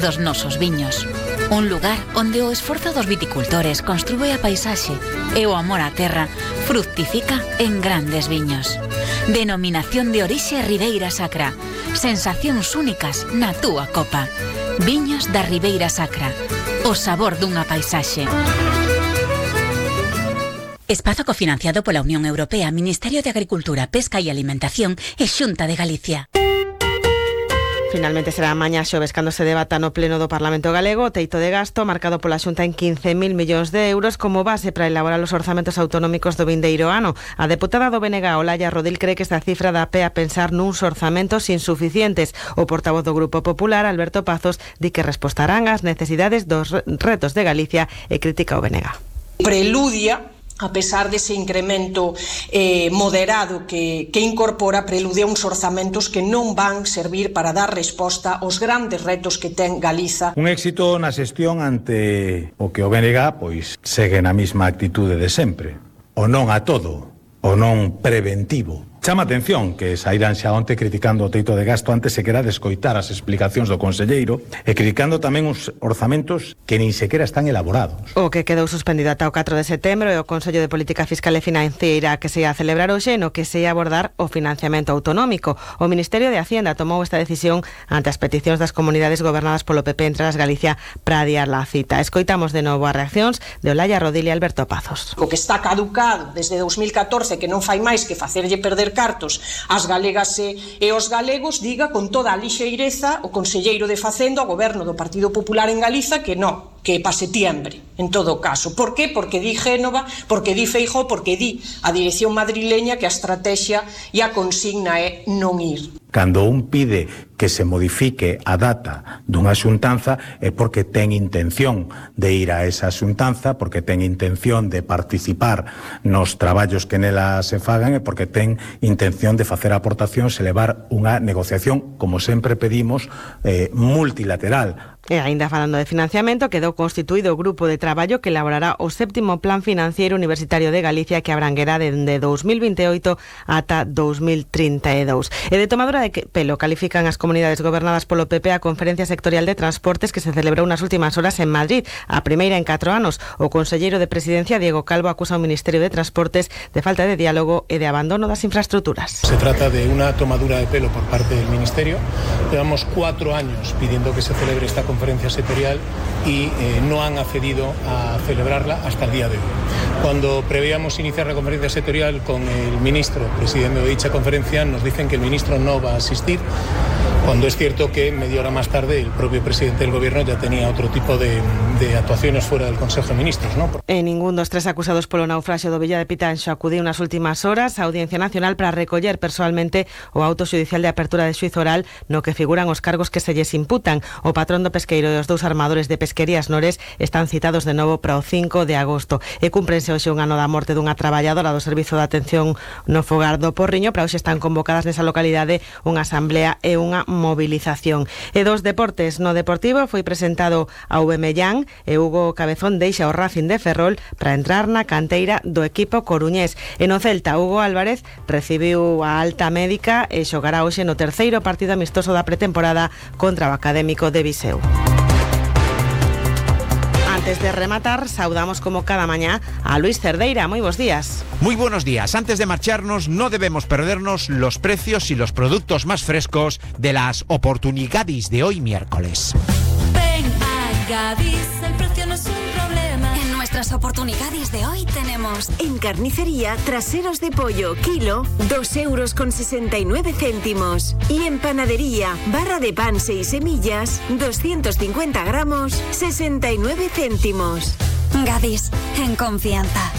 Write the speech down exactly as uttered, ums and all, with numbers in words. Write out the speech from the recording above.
dos nosos viños. Un lugar onde o esforzo dos viticultores construe a paisaxe e o amor á terra fructifica en grandes viños. Denominación de orixe Ribeira Sacra. Sensacións únicas na túa copa. Viños da Ribeira Sacra. O sabor dunha paisaxe. Espazo cofinanciado pola Unión Europea, Ministerio de Agricultura, Pesca e Alimentación e Xunta de Galicia. Finalmente será mañá xoves cando se debata no pleno do Parlamento Galego o teito de gasto marcado pola Xunta en quince mil millóns de euros como base para elaborar os orzamentos autonómicos do vindeiro ano. A deputada do B N G, Olalla Rodil, cree que esta cifra dá pé a pensar nuns orzamentos insuficientes. O portavoz do Grupo Popular, Alberto Pazos, di que respostarán ás necesidades dos retos de Galicia e critica o B N G. Preludia, a pesar dese incremento eh, moderado que, que incorpora, preludia uns orzamentos que non van servir para dar resposta aos grandes retos que ten Galiza. Un éxito na xestión ante o que o B N G pois segue na mesma actitude de sempre. O non a todo, o non preventivo. Chama atención que saíran xa onte criticando o teito de gasto antes sequera de escoitar as explicacións do conselleiro e criticando tamén uns orzamentos que nin sequera están elaborados. O que quedou suspendido ata o catro de setembro é o Consello de Política Fiscal e Financeira que se ia a celebrar hoxe no que se ia abordar o financiamento autonómico. O Ministerio de Hacienda tomou esta decisión ante as peticións das comunidades gobernadas polo P P entre as Galicia para adiar la cita. Escoitamos de novo as reaccións de Olalla Rodil e Alberto Pazos. O que está caducado desde dous mil catorce que non fai máis que facerlle perder cartos ás galegas e, e os galegos, diga con toda a lixeireza o conselleiro de Facenda, o goberno do Partido Popular en Galiza, que non, que para setiembre, en todo caso. Por qué? Porque di Génova, porque di Feijóo, porque di a dirección madrileña que a estrategia e a consigna é non ir. Cando un pide que se modifique a data dunha xuntanza é porque ten intención de ir a esa xuntanza, porque ten intención de participar nos traballos que nela se fagan e porque ten intención de facer aportacións e levar unha negociación, como sempre pedimos, eh, multilateral. E aínda falando de financiamento, quedou constituído o grupo de traballo que elaborará o séptimo Plan Financiero Universitario de Galicia que abranguerá dende dous mil vinte e oito ata dous mil trinta e dous. E de tomadura de pelo califican as comunidades gobernadas polo P P a Conferencia Sectorial de Transportes que se celebrou nas últimas horas en Madrid, a primeira en catro anos. O conselleiro de Presidencia, Diego Calvo, acusa ao Ministerio de Transportes de falta de diálogo e de abandono das infraestructuras. Se trata de unha tomadura de pelo por parte del Ministerio. Llevamos cuatro años pidiendo que se celebre esta conferencia sectorial y eh, no han accedido a celebrarla hasta el día de hoy. Cuando preveíamos iniciar la conferencia sectorial con el ministro presidiendo dicha conferencia, nos dicen que el ministro no va a asistir, cuando es cierto que media hora más tarde el propio presidente del gobierno ya tenía otro tipo de, de actuaciones fuera del Consejo de Ministros, ¿no? E ningún dos tres acusados polo naufraxio do Villa de Pitanxo acudiu nas últimas horas á Audiencia Nacional para recoller persoalmente o auto xudicial de apertura de xuízo oral no que figuran os cargos que se lles imputan. O patrón do pesqueiro e os dous armadores de Pesquerías Nores están citados de novo para o cinco de agosto e cúmprense hoxe un ano da morte dunha traballadora do Servizo de Atención no Fogar do Porriño. Para hoxe están convocadas nesa localidade unha asamblea e unha movilización. E dos deportes, no Deportivo foi presentado a Aubameyang e Hugo Cabezón deixa o Racing de Ferrol para entrar na canteira do equipo coruñés. E no Celta, Hugo Álvarez recibiu a alta médica e xogará hoxe no terceiro partido amistoso da pretemporada contra o Académico de Viseu. Antes de rematar, saudamos como cada mañá a Luis Cerdeira. Muy buenos días. Muy buenos días. Antes de marcharnos, no debemos perdernos los precios y los productos más frescos de las oportunidades de hoy miércoles. Ven a Gadis, el precio no es un problema. En nuestras oportunidades de hoy tenemos en carnicería traseros de pollo, kilo, dos euros con sesenta y nueve céntimos. Y en panadería, barra de pan seis semillas, doscientos cincuenta gramos, sesenta y nueve céntimos. Gadis, en confianza.